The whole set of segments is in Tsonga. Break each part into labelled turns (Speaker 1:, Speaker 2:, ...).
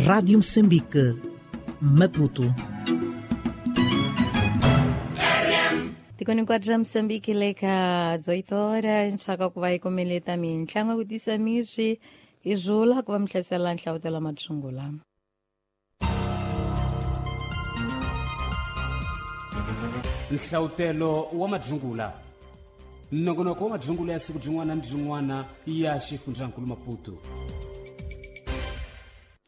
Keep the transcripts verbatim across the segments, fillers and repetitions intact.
Speaker 1: Rádio Moçambique, Maputo.
Speaker 2: Tikoni kwa Moçambique leka dezoito horas nxaka ku va yi komeleta mintlangu ku tisa mixi hi zula ku va mi hlasela nhlavutelo matshungula.
Speaker 3: Nhlawutelo wa madzungula nongonoko wa madzungula ya siku byin'wana ni byin'wana ya xifundzankulu Maputo.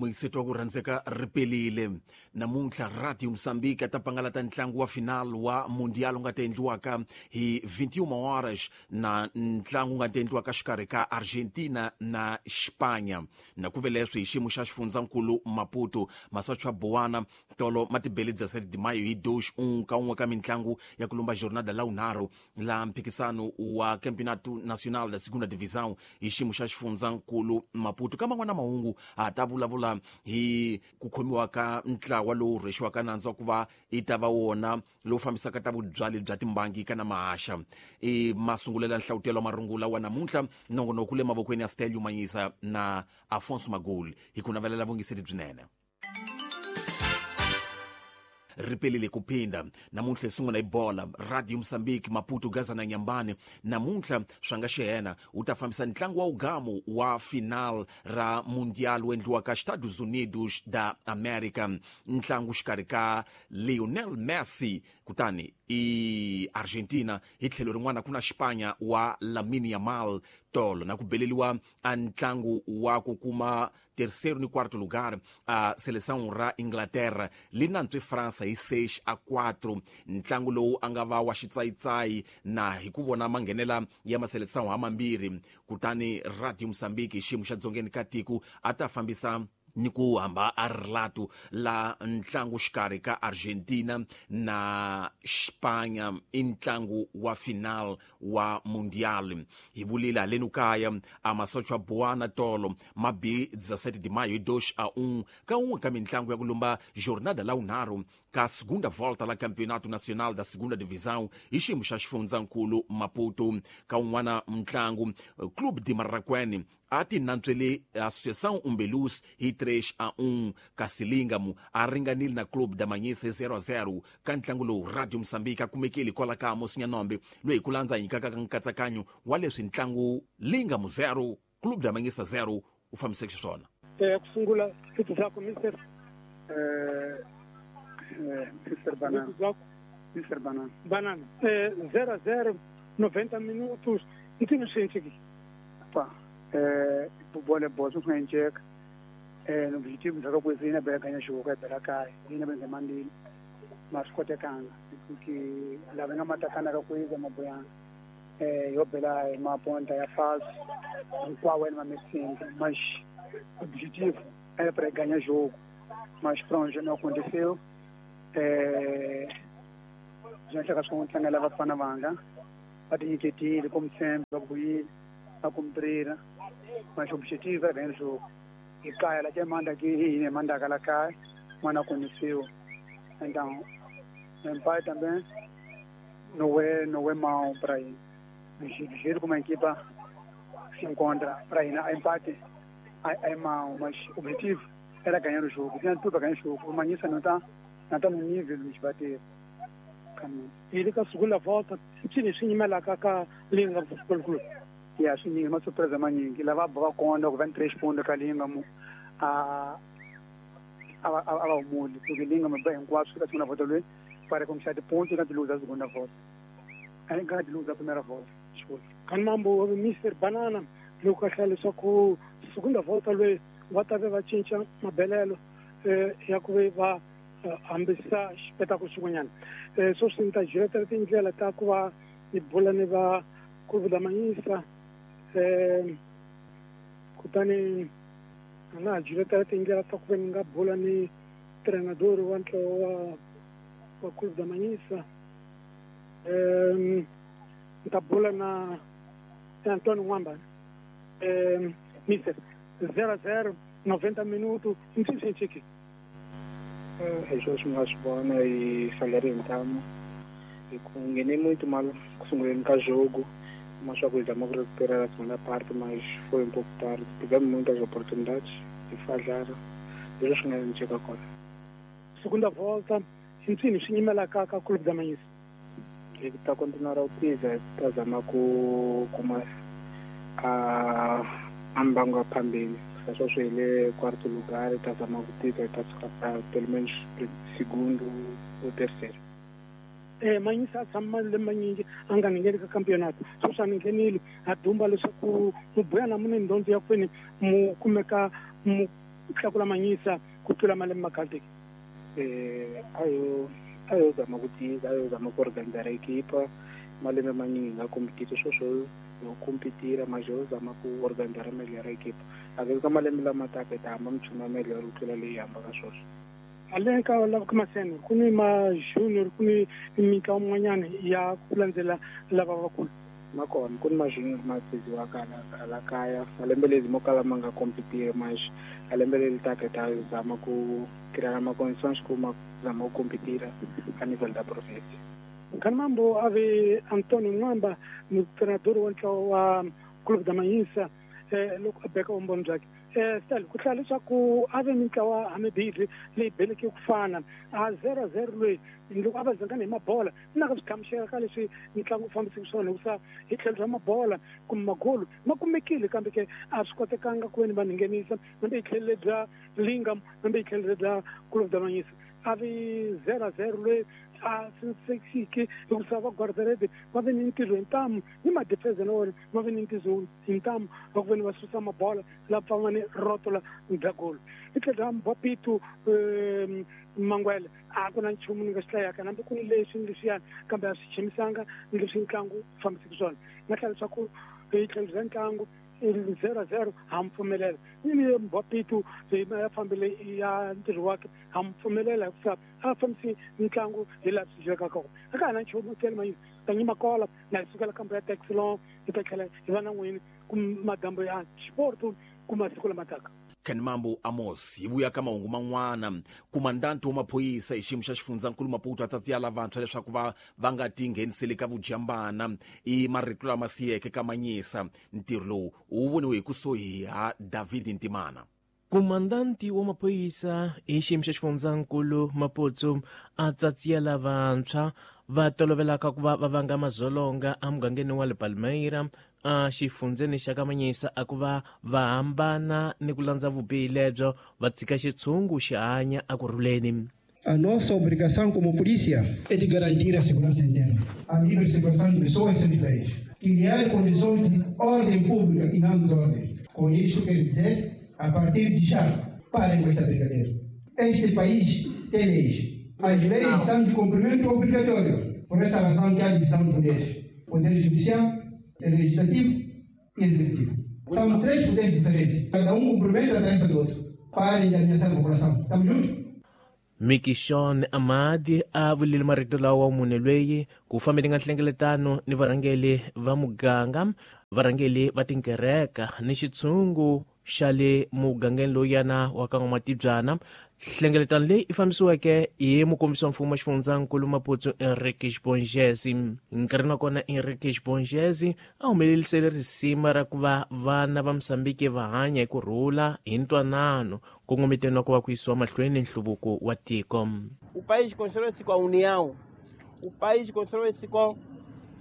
Speaker 4: Muyiseto wa ku rhandzeka ri pelile namuntlha Radio Moçambique ta pangalata ntlangu wa final wa Mundial wu nga ta endliwaka hi vinte e uma horas na ntlangu wu nga ta endliwaka xikarhi ka Argentina na Espanha. Na ku ve leswi hi xiyimo xa xifundzankulu Maputo masocha ya Boana tolo ma tibele dezessete de maio hi dois um ka un'we ka mintlangu ya ku lumba jornada la unharhu la mphikisano wa Campeonato Nacional da Segunda Divisão hi xiyimo xa xifundzankulu Maputo. Ka man'wana mahungu ha ta vulavula hi ku khomiwa ka ntlawa lowu rhwexiwaka nandzu wa ku va i ta va wona lowu fambisaka ta vubyali bya timbangi kana mahaxa. I masungulela nhlawutelo wa marungula wa namuntlha nongonoko le mavokweni ya Stelio Manyisa na Afonso Magoli hi ku navelela vungiseri byinene. Ripelile kuphinda namuntlha hi sungula hi bola Radio Moçambique Maputo Gaza na Nyambane namuntlha swanga xihena wu ta fambisa ntlangu wa ugamu wa final ra Mundial wu endliwaka Estados Unidos da América, ntlangu xikarhi ka Lionel Messi kutani i Argentina hi tlhelo rin'wana ku na Xipanya wa Lamine Yamal tolo na ku beleliwa a ntlangu wa ku kuma terceiro ni quarto lugar a seleção ra Inglaterra li nantswe França hi seis a quatro. Ntlangu lowu a nga va wa xitsayitsayi na hi ku vona manghenela ya maseleção hamambirhi. Kutani Radio Moçambique hi xiyimo xa dzongeni ka tiko a ta fambisa ni ku hamba a relato la ntlangu xikarhi ka Argentina na Espanha i ntlangu wa final wa Mundial. Hi vulile haleni kaya a masocha Boana tolo ma bi dezessete de maio hi dois a um ka un'we ka mintlangu ya ku lumba jornada la unharhu ka segunda volta la Campeonato Nacional da Segunda Divisão hi xiyimo xa xifundzankulu Maputo. Ka un'wana mntlangu Clube de Marraquene a ti nantswele Associação Umbelus hi três a um. Kasi Lingamo a ringanile na Clube da Manhisa hi zero a zero. Ka ntlangu lowu Radio Moçambique a kumekile kwala ka Amos Nyanombe loyi hi ku landza hi nyikaka nkatsakanyo wa leswi ntlangu Lingamo zero Clube da Manhisa zero wu fambiseke xiswona.
Speaker 5: Ku sungula siku zako mister
Speaker 6: Mister Banana. Mister Banana.
Speaker 5: Banana. zero a zero, noventa minutos. Ntino xinchiki.
Speaker 6: Pa. Eh, bola bola swi nga enceka. Eh, objetivo za ku zina bela ganha jogo ka bela kai. Ina benze mandini. Mas kotekanga. Porque la venga matakana ka kuiza mabuyana. Eh, yo bela ma ponta ya faz. Qual é ma messinga, mas objetivo era para ganhar jogo. Mas pronto, não aconteceu. É, já chega com o leva para Panamanga, a tinyiketile como sempre, va vuyile, va cumprira, mas o objetivo é ganhar o jogo. E cai, ela te manda aqui, e manda aquela cai, mas não aconteceu. Então, meu pai também não é, não é mau para ir. Do jeito como a equipa se encontra para ir, a empate é, é mau, mas o objetivo era ganhar o jogo. Tinha tudo para ganhar o jogo. O Manhissa não está não está no nível de nos bater.
Speaker 5: E ka segunda volta, chini xinyimela ka ka Linga Football Club.
Speaker 6: Ya swi ma surpresa manyingi lava ba konda ku vinte e três pontos ka Linga mu a a a va humuli porque Linga mu ba hinkwaswo ka segunda volta loyi para conquistar de pontos na luza a segunda volta. Aí ganha de luza a primeira volta. Desculpa.
Speaker 5: Kan mambo Mister Banana loko a hlaya leswaku segunda volta loyi va ta ve va cinca mabelelo ya ku ve va hambisa xipetako xin'wanyana. So swi ni ta jiretela tindlela ta ku va ni bula ni va Clube da Manhissa, kutani a nga ha jiretela tindlela ta ku ve ni nga bula ni treinador wa ntlawa wa wa Clube da Manhissa. Ni ta bula na Antônio Nwamba. Mister zero a zero, noventa minutos, ntsi
Speaker 7: Hi swona swi nga swi vona hi salary ntamu hi ku nghene muito mal ku sunguleni ka jogo, mas só que zama ku recuperar a segunda parte, mas foi um pouco tarde. Tivemos muitas oportunidades e falharam. Hi leswi nga enceka kona.
Speaker 5: Segunda volta i mpfini swi nyimelaka ka Clube da Manhiça?
Speaker 7: Hi ta continuar u tiza, hi ta zama ku kuma a a mbango ya phambili. Sweswo hi le quarto lugar, hi ta zama ku tiza, hi ta suka pa pelo menos segundo ou terceiro.
Speaker 5: Eh Manhiça a tshama malembe manyingi a nga ngheni ka campeonato, sweswi a ni nghenile a dumba leswaku mubuya na mune ndondzo ya kwini mu kumeka mu tlakula Manhiça ku tlula malembe ma khale.
Speaker 7: Eh ayo ayo zama ku tiza, ayo zama ku organizar equipa. Malembe manyingi nga competita, sweswo yo competira, mas yo zama ku organizar melhor equipa. A ka malembe lama taka hi ta hamba minchumu ya melhor ku tlula leyi hambaka sweswo.
Speaker 5: Ale ka lava ka masene ku ni ma junior, ku ni mitlawa min'wanyana ya ku landzela lava vakulu.
Speaker 7: Ma kona, ku ni ma junior ma tiziwaka hala hala kaya. Malembe lezi mo kala ma nga competiri, mas a lembe leri taka hi ta zama ku criar ma condições ku ma zama ku competira a nível da província.
Speaker 5: Kanambo a ve Antonio Nwamba, treinador wa ntlawa wa Clube da Manhiça, eh loko a beka vumbhoni byakhe. Eh Stel, ku hlaya leswaku a ve mintlawa hamibirhi leyi beleke ku fana a zero zero loyi loko a va zangana hi mabola na ka swi ka leswi ntlangu wu fambiseke swona, hikusa hi tlhelo ra mabola kumbe magolo ma kumekile, kambe ke a swi kotekanga ku veni va nghenisa nambe hi tlhelo bya Lingam, nambe hi tlhelo bya Clube da Manhiça. A vi zero zero loyi a sensekiki, hikusa va guardarede va ve ni ntirho hi ntamu ni madefense na wona va ve ni ntirho hi ntamu va ku veni va susa mabola la pfanga ni rotola bya golo. Hi tlhelo ra Mbapitu Mangwele a ku na nchumu ni nga xi hlayaka, nambe ku ni leswi ni leswiyani, kambe a swi chimisanga ni leswi ntlangu wu fambiseke swona. Nga hlaya leswaku hi tlhelo bya ntlangu zero zero ha mi pfumelela ni ni Mbapitu ya fambile ya ntirho wakhe ha mi pfumelela, hikusa a fambisi ntlangu hi laha swi dyekaka kona. A ka ha na nchumu tele Manhiça ta nyima kola na hi sukela kambe ya Texlon hi ta tlhela hi va na n'wini ku madambo ya xiporto ku masiku lama taka.
Speaker 4: Kanambo Amos hi vuya ka mahungu man'wana. Kumandanti wa maphorisa hi xiyimo xa xifundzankulu Maputo a tsatsiya lavantshwa leswaku va va nga ti ngheniseli ka vujambana i marito lama siyeke ka Manhiça. Ntirho lowu wu voniwe hi kusuhi ha David Ntimana.
Speaker 8: Kumandanti wa maphorisa hi xiyimo xa xifundzankulu Maputo a tsatsiya lavantshwa va tolovelaka ku va va vanga mazolonga emugangeni wa le Palmeira a xifundzeni xa ka Manhiça, a ku va va hambana ni ku landza vubihi lebyo va tshika xitshungu xi hanya ekurhuleni.
Speaker 9: A nossa obrigação como polícia é de garantir a segurança interna, a livre circulação de pessoas e seus bens, criar condições de ordem pública e não desordem. Com isto quero dizer, a partir de já, parem com esta brincadeira. Este país tem leis. As leis são de cumprimento obrigatório. Por essa razão que há divisão de poderes. Poder judicial, legislativo e executivo. São três poderes diferentes. Cada um cumprimenta a tarefa do outro. Parem de ameaçar a população. Estamos juntos?
Speaker 8: Mikishon Amadi a vulile marito lawa munhu loyi ku fambeni nga nhlengeletano ni varhangeli va muganga, varhangeli va tinkereka ni xitshungu xa le mugangeni lowuyana wa ka N'wamatibyana. Nhlengeletano leyi i fambisiweke hi mukombisi wa mfumo wa xifundzankulu Maputo Enrique Bongezi. Nkarhini wa kona Enrique Bongezi a humelerisele risima ra ku va vana va Mozambique va hanya hi ku rhula hi ntwanano kongometeni wa ku va ku yisiwa mahlweni nhluvuko wa tiko.
Speaker 10: O país constrói-se com a união, o país constrói-se com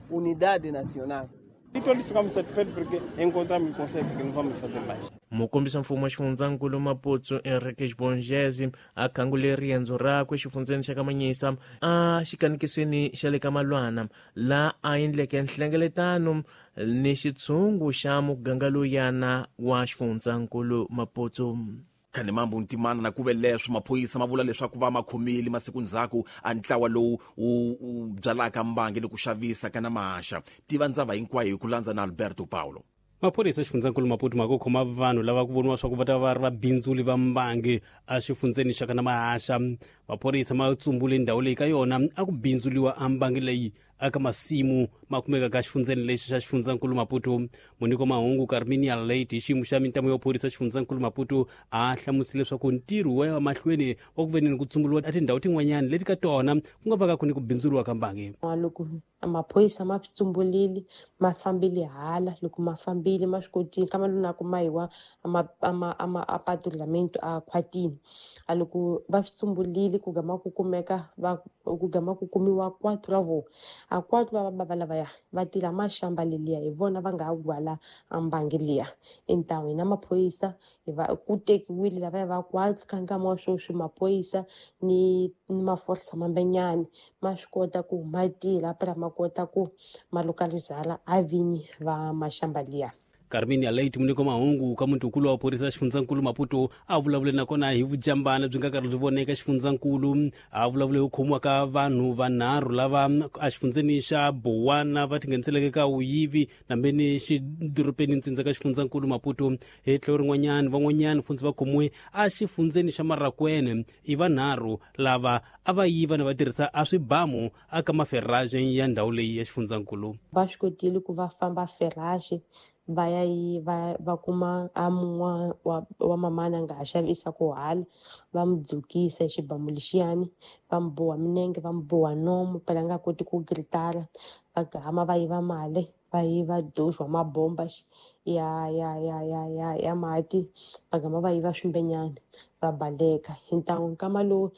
Speaker 10: unidade nacional. E todos ficamos satisfeitos porque encontramos consenso que não vamos fazer mais.
Speaker 8: Mukombisi wa mfumo wa xifundzankulu Maputo Enrique Bongezi a khangule riendzo rakwe exifundzeni xa ka Manhiça a xikanikisweni xa le ka Malwana, laha a endleke nhlengeletano ni xitshungu xa muganga lowuyana wa xifundzankulu Maputo.
Speaker 4: Kanambo Ntimana na kuve leswi maphorisa ma vula leswaku va ma khomile masiku ndzhaku a ntlawa lowu wu byalaka mbangi ni ku xavisa kana mahaxa. Tiva ndzava hinkwayo hi ku landza na Alberto Paulo.
Speaker 3: Maphorisa xifundzankulu Maputo ma ku khoma vanhu lava ku voniwa swa ku va ta va ri vabindzuli va mbangi a xifundzeni xa kana mahaxa. Maphorisa ma tsumbule ndhawu leyi ka yona a ku bindzuliwa a mbangi leyi aka masimu ma kumekaka xifundzeni lexi xa xifundzankulu Maputo. Muniko mahungu Carminia Late hi xiyimo xa mintamu yo phorisa xifundzankulu Maputo a hlamusile leswaku ntirho wa ya mahlweni wa ku veneni ku tshunguriwa a tindhawu tin'wanyana leti ka tona ku nga vaka ku ni ku bindzuriwa ka mbangi.
Speaker 11: Loko maphorisa ma swi tsumbulile ma fambile hala, loko ma fambile ma swi kotile kama lona ku mayiwa ama ama ama a patrulhamento a khwatini. A loko va swi tsumbulile ku gama ku kumeka va ku gama ku kumiwa quatro ra vona, a quatro va baba lavaya va tila maxamba leliya hi vona va nga gwala mbangi liya. Entawini na maphorisa hi va ku tekiwile lavaya va quatro ka nkama wa sweswi maphorisa ni ni maforsa mambenyani ma swi kota ku ma tila phela ma kota ku ma localizala a vinyi va maxamba liya.
Speaker 3: Carminia Late muniko mahungu ka mutukulu wa phorisa xifundzankulu Maputo a vulavule nakona hi vujambana byi nga karhi byi voneka xifundzankulu. A vulavule hi khomiwa ka vanhu vanharhu lava a xifundzeni xa Bowana va tingheniseleke ka vuyivi nambeni xidorobeni ntsindza ka xifundzankulu Maputo. Hi tlhelo rin'wanyana van'wanyana fundzi va khomiwe a xifundzeni xa Marakwene i vanharhu lava a va yiva na va tirhisa a swibamu aka maferraje ya ndhawu leyi ya xifundzankulu.
Speaker 11: Va swi kotile ku va famba ferraje va ya yi va va kuma a mun'wa wa, wa mamana nga ha xavisa ku hala, va mu dzukisa hi xibamu lexiyani, va mu boha minenge, va mu boha nomu phela a nga koti ku gritara, va gama va yiva mali, va yiva doxo wa mabomba ya ya ya ya ya ya mati, va gama va yiva swimbenyana va baleka. Hi ntangu nkama lowu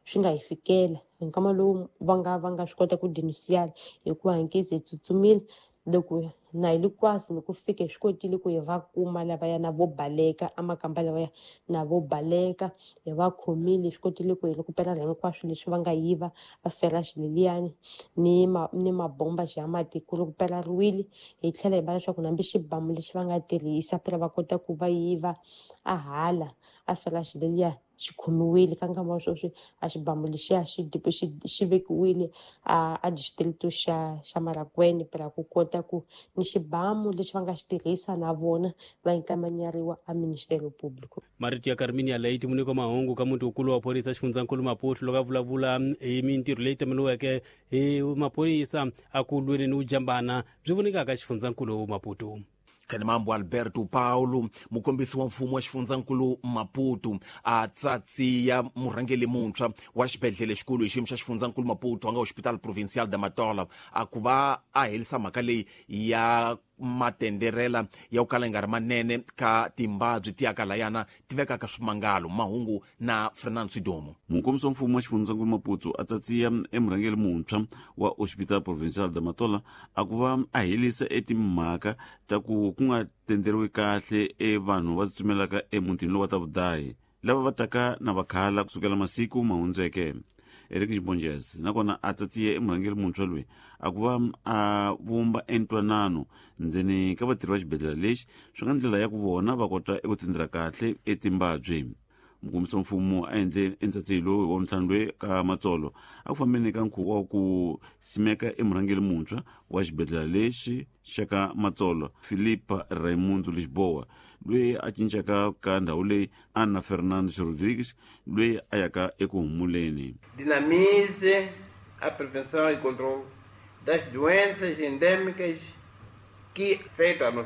Speaker 11: swi nga hi fikela, hi nkama lowu va nga va nga swi kota ku denunciar hikuva hi nkezi hi tsutsumile loko na hi le kwasi loko fika hi swi kotile ku hi va kuma lavaya na vo baleka amakamba lavaya na vo baleka hi va khomile, hi swi kotile ku hi rekupela hinkwaswo leswi va nga yiva a feraxi leliyani ni ma ni mabomba ya mati ku rekupelariwile. Hi tlhela hi va leswaku nambi xibamu lexi va nga tirhisa phela va kota ku va yiva a hala a feraxi leliya xi khomiwile ka nkama wa sweswi a xibamu lexiya xi xi xi vekiwile a a distrito xa xa Marakwene phela ku kota ku ni xibamu lexi va nga xi tirhisa na vona va inkamanyariwa a Ministério Público.
Speaker 3: Marito ya Carminia Late muniko mahungu ka mutukulu wa phorisa xifundzankulu Maputo loko a vulavula hi mintirho leyi tameliweke hi maphorisa a ku lweni ni vujambana byi vonekaka xifundzankulu Maputo.
Speaker 4: Kanimambo Alberto Paulo mukombisi wa mfumo wa xifundzankulu Maputo a tsatsiya murhangeli muntshwa wa xibedhlele xikulu hi xiyimo xa xifundzankulu Maputo a nga Hospital Provincial da Matola a ku va a herisa mhaka leyi ya matenderela ya ku kala nga ri manene ka timbabyi ti yaka layana ti vekaka swimangalo. Mahungu na Fernando Sidomo.
Speaker 12: Mukombisi wa mfumo wa xifundzankulu Maputo a tsatsiya emurhangeli muntshwa wa Hospital Provincial da Matola a ku va a herisa etimhaka ta ku ku nga tenderiwi kahle e vanhu va tsumelaka emutini lowu wa ta vudayi lava va taka na vakhala kusukela masiku ma hundzeke. Eric Xibonjez nakona a tsatsiye emurhangeri muntshwa loyi a ku va a vumba entwanano ndzeni ka vatirhi va xibedhlele lexi swi nga ndlela ya ku vona va kota eku tendera kahle etimbabyi. Mukombisi wa mfumo a endle entsatsilo wa ntlhanu loyi ka Matsolo a ku fambeni ka nkhuvo wa ku simeka emurhangeri muntshwa wa xibedhlele lexi xa ka Matsolo Filipa Raimundo Lisboa loyi a cincaka ka ndhawu leyi Ana Fernandes Rodrigues loyi a yaka eku humuleni.
Speaker 10: Dinamize a prevenção e controle das doenças endêmicas que afetam a nossa